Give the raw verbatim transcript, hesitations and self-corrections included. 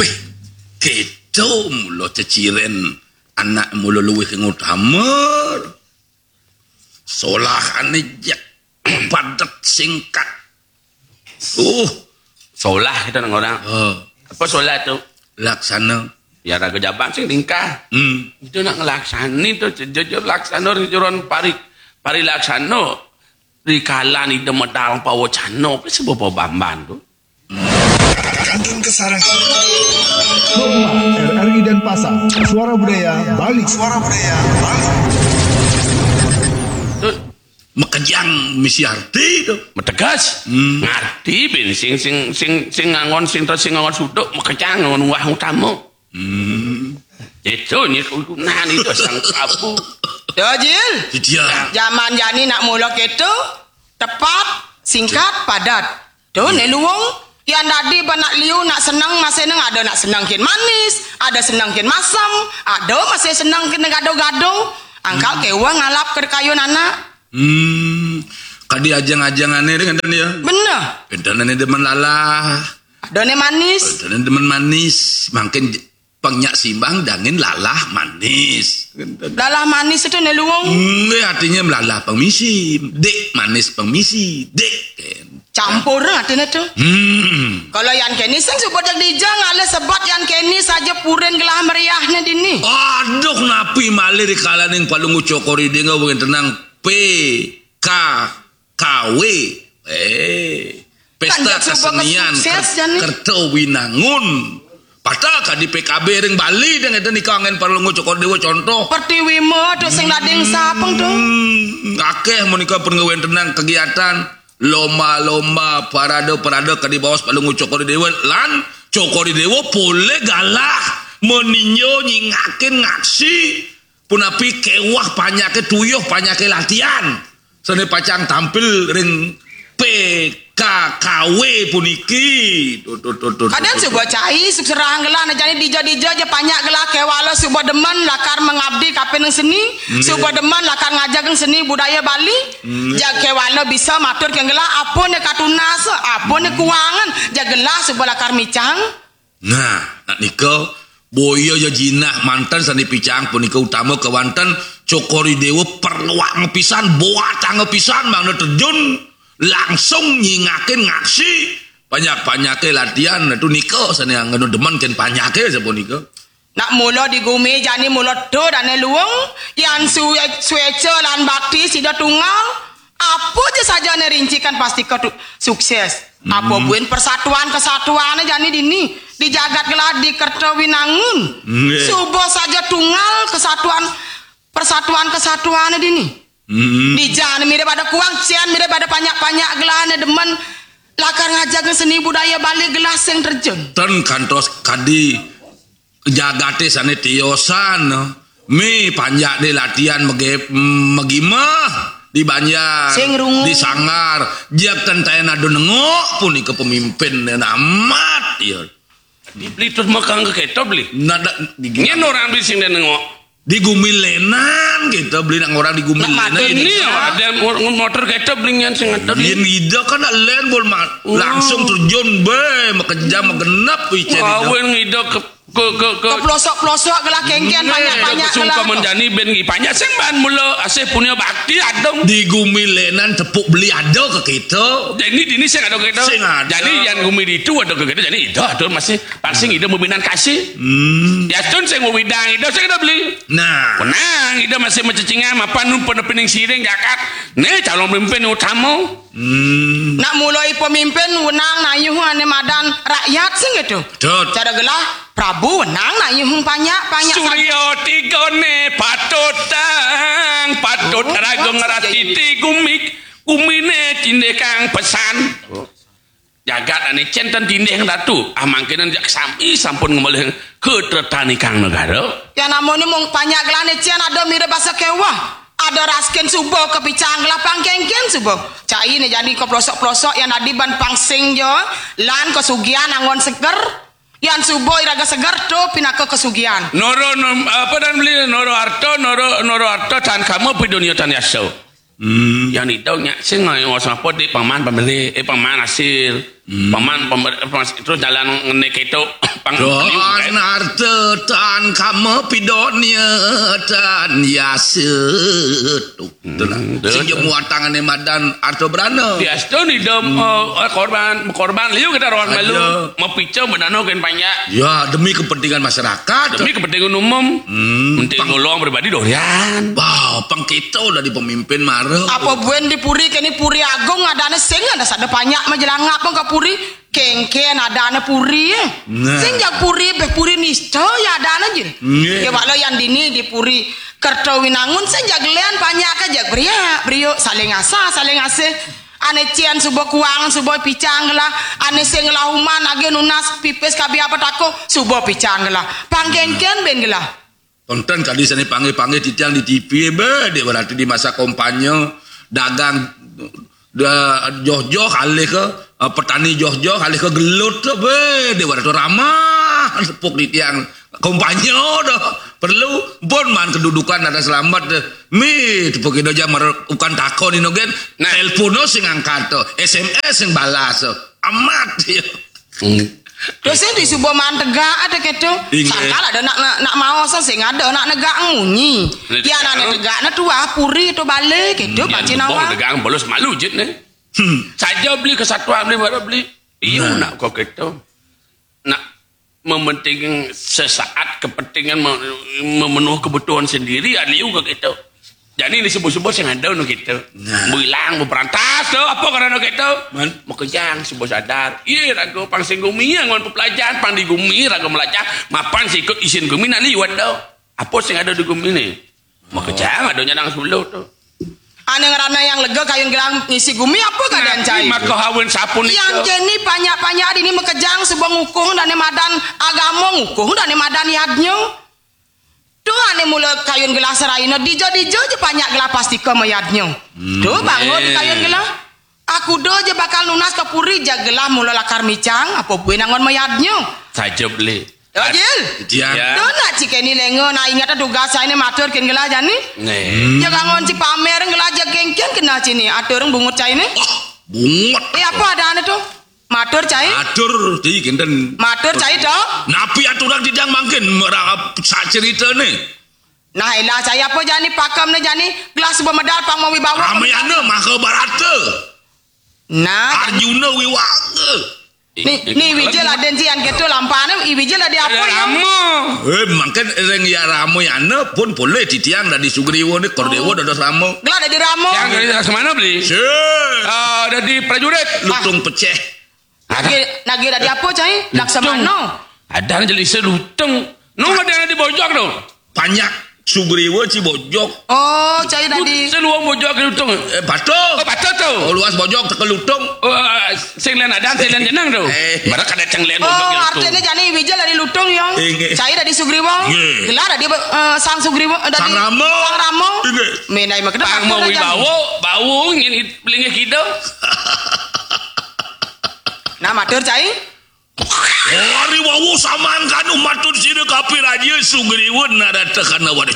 Pih, kéto mula ceciren anak mula luwih ing utama. Solahane jek padet singkat. Uh, Solah kita nang orang. Oh, Apa solah tu? Laksana. Ya raga jaban sing lingkah. Hmm. Itu nak ngelaksani tu jujur laksana ring jeron pari pari laksana. Rikalan ida medal pawacana ke sebab bamban tu. Kantun kesarangan. Rumah R R I Denpasar. Suara Budaya Bali. Suara Budaya Bali. Tu makejang misi arti tu. Mategas. Hmm. Ngarti bin sing sing sing sing ngangon sing sing ngangon suduk makejang ngangon wah utama. Hmm. Itu ni kudunan itu sang Prabu. Ya, Jil. Dia. Zaman jani nak mula keto, tepat, singkat, padat. Tu ne luung, yang dadi ba nak liu, nak seneng, masih neng ada nak seneng kin manis, ada seneng kin masem, ada masih seneng kin gaduh-gaduh. Angkal kewa ngalap ke kayun anak. Hmm, kadi ajang-ajangane ring enten ya. Bener. Enten ane demen lalah. Ada ne manis. Enten ane demen manis. Mangkin j- pang nyak simbang dangin lalah manis. Lalah manis itu ne luung. Nggih, artinya lalah pang misi. Dik manis pang misi. Dik. Campur artinya tu. Hmm. Kalau yang keni sing suba dek dija ngalih sebat yang keni saja purin gelah meriahne dini. Aduh, napi malih rikalaning Palungguh Cokor Ida ngawentenang P K K W. Eh, pesta kesenian sukses, ker- jani. Kerta Winangun. Patah kadi P K B ring Bali deng enten nika anggen Palungguh Cokor Dewa contoh. Pertiwi ma tu sing lading sapeng tu. Hmm, akeh menika pun ngawentenang kegiatan lomba-lomba parade-parade kadi baos Palungguh Cokor Dewa lan Cokor Dewa polih galah meninjo nyingakin ngaksi punapi kewah panyake tuyuh panyake latihan. Sane pacang tampil ring P K K W puniki. Tuh, tuh, tuh, tuh, Kadang tuh, suba tuh. Cai, suk serahang gelah, nah jani dija-dija ja panyak gelah kewala suba demen lakar mengabdi kapining seni, hmm, suba demen lakar ngajagang seni budaya Bali. Hmm. Ja kewala bisa matur ke gelah, apa ne katunas, apa ne kuangan, ja gelah suba lakar micang. Nah, nak nika, boya ya jinah manten sane picang punika utama kewanten Cokor Dewa perluang pisan, boatang pisan mangda terjun langsung nyingakin ngaksi banyak-banyake latihan tu nika sane anggeno demen ken panyake sapunika. Nak mula di gumi jani mula tu dane luung, yan su-, sueca lan bakti sida tunggal, apa ja saja ne rincikan pasti ketu-, sukses. Hmm. Apa buin persatuan kesatuan jani dini di jagat gelah di Kerta Winangun. Nggih. Suba saja tunggal kesatuan, persatuan kesatuan dini. Hmm. Dija ne mirip ada kuang, cian mirip ada panyak-panyak gelah ne demen lakar ngajaga seni budaya Bali gelah sing terjun. Ten kantos kadi jagate sane tiosan. Mi panjak de latihan mege-, megimeh di banjar, sing rungu. Di sanggar, jak tentayan adu nengok punika pemimpin amat ya. Dibeli terus makang ke keto beli. Nada di Nyen orang beli sing dia nengok. Di Gumilenan kita beli nang orang di Gumilenan. Ini ya, ada motor keto beli nyen sing ada. Yen ida kan len bol ma-, langsung terjun be, makejang magenep ice. Awen ida ke ke ke ke pelosok-pelosok gelah kengken banyak-banyak gelah. Sungkaman jani ben ngi panjak sing ban mula asih punya bakti adong. Di Gumilenan tepuk beli ada ke kita. Jadi dini sing ada ke kita. Sing ada. Jadi yang gumi ditu ada ke kita. Jadi ida atur masih parsing ida mabinan kasih. Hmm. Ya tun sing widang ida sing ada beli. Nah. Menang ida masih macecingan mapan nu penepining siring jakat. Nih calon pemimpin utama. Hmm. Nak mulai pemimpin wenang nayuh ane madan rakyat sing gitu. Betul. Cara gelah Prabu wenang nayuh panyak panyak. Surya tigane patut tang patut. Oh, raga ngerati ti gumik gumine tindih kang pesan. Jagat ane centen tindih ratu. Ah mangkene jak sami sampun ngemolih ke tretani kang negara. Ya namanya mung panyak gelane cian ada mirip basa kewah. Ada raskin suba kepicang gelah pangkengken suba. Cai ne jadi keplosok-plosok yang dadi ban pangsing jo lan kesugihan anggon seger. Yang suba iraga seger tu pinaka kesugihan. Noro nom, apa dan beli noro harta noro noro harta tan kamu pi dunia tan yaso. Hmm. Yang itu nyak sing ngai ngos apa di paman pembeli eh paman hasil. Hmm. Paman, paman, terus jalan ngene keto, pang. Don arta tan kama pidonya tan yasa. Tuh, itulah. Hmm, sing betul. Jemu atangane madan arta brana. Diastun idem, hmm, eh, eh, korban, korban liu kita rohan malu. Aja. Mapica menano kan banyak. Ya, demi kepentingan masyarakat. Demi kepentingan umum. Hmm, menteri pang- ngolong pribadi dorian. Wah, pang kita udah di pemimpin mara. Apa buen di puri, kene puri agung adane sing ada sada banyak majelangap ke puri. Kengken adane puri, eh. Nah. Sing jag puri, beh puri nista ya adane je. Nggih. Ya, wala yang dini di puri Kertawinangun sing jag lean banyak ke jag beriak, beriuk, saling asah, saling asih. Ane cian suba kuang, suba picang lah. Ane sing lah uman age nunas pipis kabi apa tako, suba picang lah. Pangkengken ben gelah. Tonton kadi sane panggih-panggih titiang di T V, be, dek berarti di masa kampanye, dagang, da-, joh-joh alih ke, eh, petani joh-joh alih ke gelut tu, be, dek berarti ramah, tepuk titiang kampanye dah. Perlu, pun man kedudukan ada selamat deh. Mi, tepuk itu aja mer-, bukan takon ino gen. Nah. Telepon no sing angkat tu, S M S sing balas tu. Amat, ya. Hmm. Terus sing di suba man tegak ada keto. Inggih. Sangkal ada nak, nak, nak mau sing ada nak negak munyi. Nah, ya, nak negak. Nak tegak nak tuah puri tu balik keto, hmm, baca nawa. Negak bolos malu jit ne. Hmm. Saja beli kesatuan beli baru beli. Iyo, nah, nak kau keto. Nak mementingkan sesaat kepentingan me-, memenuhi kebutuhan sendiri, aliu kau keto. Jani ni sebut-sebut sing ada nu kita. Nah. Bilang beperantas tu, apa kerana kita? Man. Makejang sebut sadar. Iya, raga pang sing gumi yang ngon pepelajaran, pang di gumi raga melajah, mapan sikut isin gumi nak liwat tu. Apa sing ada di gumi ni? Makejang ada nyadang sebelum tu. Ane ngerana yang lega kayun gelang ngisi gumi apa keadaan cai? Maka hawin sapun yang itu. Jeni banyak-banyak dini makejang sebab ngukung dane madan agama, ngukung dane madan yadnya. Tu ane mula kayun gelah seraina, dija-dija je banyak gelah pastika mayadnya. Hmm. Tu bangun kayun gelah. Aku do je bakal nunas ke puri, ja gelah mula lakar micang, apa bue nangon mayadnya. Saja beli. Ya, Jil. Tiang. Ya. Tu nak cikeni lenga, nak ingat tugas saya ni matur ken gelah jani. Nih. Hmm. Ja kangon ci pamer gelah ja kengken kena cini, atur bungut cai ni. Wah, bungut. Eh, apa ada ane tu? Matur cai. Matur, ti kinten. Matur cai to. Napi aturan titiang mangkin merangkap sak cerita ni. Nah, elah cai apa jani pakam ni jani gelas bemedal pang mawi bawa. Ramayana Mahabharata. Nah, Arjuna Wiwaga. Ni, ni Wijil aden si an keto lampane, i Wijil ade apa ya? Rama. Eh, mangkin ring ya Ramayana pun boleh titiang dadi Sugriwa ni Kordewa dados Rama. Gelah dadi Rama. Yang dari semana beli? Sih. Ah, dadi prajurit. Lutung peceh. Nagi, nagi dadi apa, cai? Laksamana. Ada aja lisa lutung. Nung ada yang di bojok tu. Banyak Sugriwa ci bojok. Oh, cai dadi. Seluang bojok lutung. Eh, patuh. Oh, patuh tu. Oh, luas bojok teka lutung. Oh, sing lain ada, sing lain jenang tu. Eh. Baru kada cang lain bojok lutung. Oh, artinya jani Wijil dadi lutung ya. Inggih. Cai dadi Sugriwa. Inggih. Gelah dadi, eh, Sang Sugriwa, eh, dadi Sang Rama. Sang Rama. Inggih. Menai makna pang mau wibawa, bau ngin pelinggih kita. Nah, matur cai. Hari wau saman kanu matur sira kapi raja Sugriwa narata kana wadah.